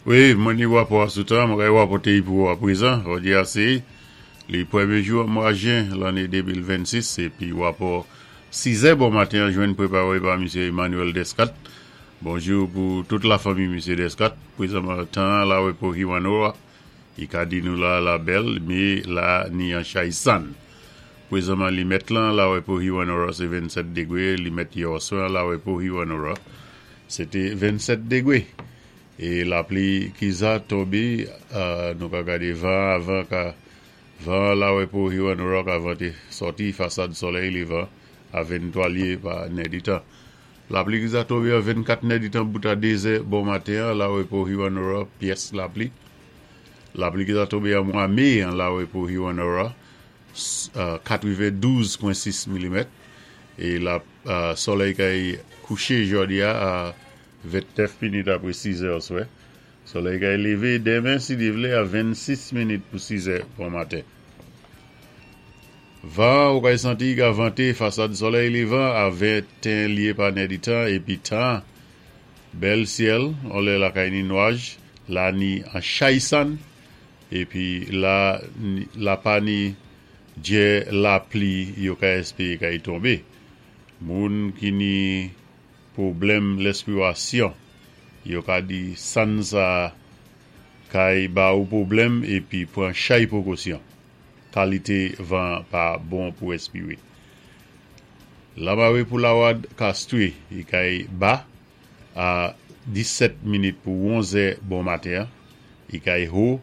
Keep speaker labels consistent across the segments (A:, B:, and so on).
A: Wi, mwen ni wapò a sou tan, mwen kay wapòté-y pou ou aprezan. Jòdi-a sé li pwémyé jou an mwa jen lanné 2026 épi wapò sizè bon maten an jwenn pwéparé pa Misye Emmanuel Descat. Bonjou pou tout lafanmi Misye Descat. Pwézanman tan an la wé pou Hewanorra, i ka di nou la la bèl, mé la ni an chay sann. Pwézanman limèt lan la wé pou Hewanorra sé 27 degwé, limèt yèoswè an la wé pou Hewanorra sé té 27 degwé. E lapli ki za tonbé, nou ka gadé van avan ka van an la wé pou Hewanorra ka vanté sòti fasad solèy lévan a 23 lyé pa nèditan. Lapli ki za tonbé an 24 nèditan bout a 2 zè bon maten an la wé pou Hewanorra pyès lapli. Lapli ki za tonbé an mwa mé an la wé pou Hewanorra 92.6 milimèt e la solèy kay kouché jòdi-a a 29 minit apre 6 zè oswè. Solèy kay lévé denmen si Dye vlé a 26 minit pou 6 zè bon maten. Van ou kay santi ka vante fasad solèy lévan a 21 lyé pa nèditan épi tan bèl syèl on lè lakay ni nwaj la ni an chay sann épi la la pa ni djè lapli yo ka èspéré kay tonbé. Moun ki ni Pwoblèm lèspirasyon, Yo ka di sann sa kay ba ou pwoblèm epi pran chay pwekosyon. Kalite van pa bon pou respire. Lamare pou lawad Castries i kay ba a 17 minit pou 11 è bon maten an, i kay ho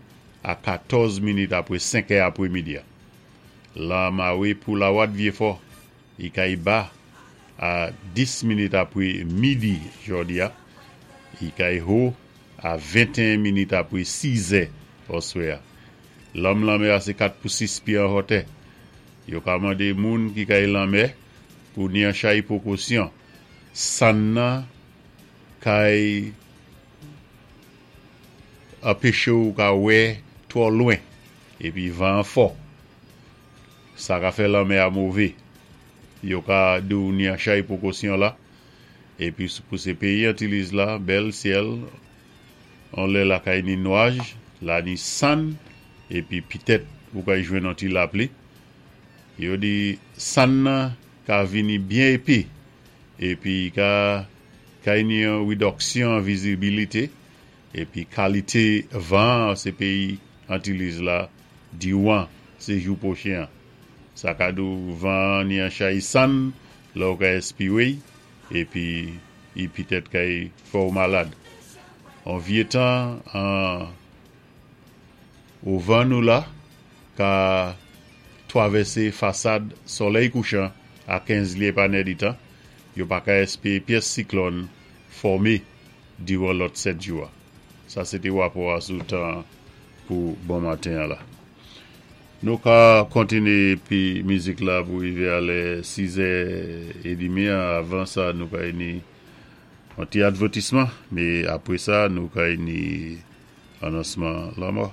A: a 14 minit apre 5 è apre midi a. Lamare pou lawad Vyefò I kay ba a 10 minit apre midi jòdi a, i kay ho a 21 minit apre 6 zè oswè a. Lanm lanmè a sé 4 pou 6 pye an hòtè. Yo ka mande moun ki kay lanmè pou ni an chay pwokosyon. Sann nan kay anpeche ou ka wè twò lwen epi van an fò. Sa ka fè lanmè a move. Yo ka di w ni an chay pwokosyon la. Epi pou se peyi Antiliz la, bèl syèl, on lè lakay ni nwaj, la ni sann, epi pitèt ou kay jwenn on ti lapli. Yo di sann nan ka vini byen epe, epi ka kay ni yon ridòksyon an vizibilite, epi kalite van an se peyi Antiliz la Diwan se jou pwochen an. Sa ka di w van an ni an chay sann lè w ka espire y epi y pitèt kay fè w malad. On vye tan an o van nou la ka twavèse fasad solèy kouchan a 15 lye pa nèditan, yo pa ka espere pyès siklòn fòme diran lòt 7 jou a. Sa se te wapò a sou tan pou bon maten an la. Nou ka kontinye pi mizik la pou rive a lè 6 è edimi an. Avan sa nou kay ni yon ti advètisman, me apre sa nou kay ni anonsman lanmò.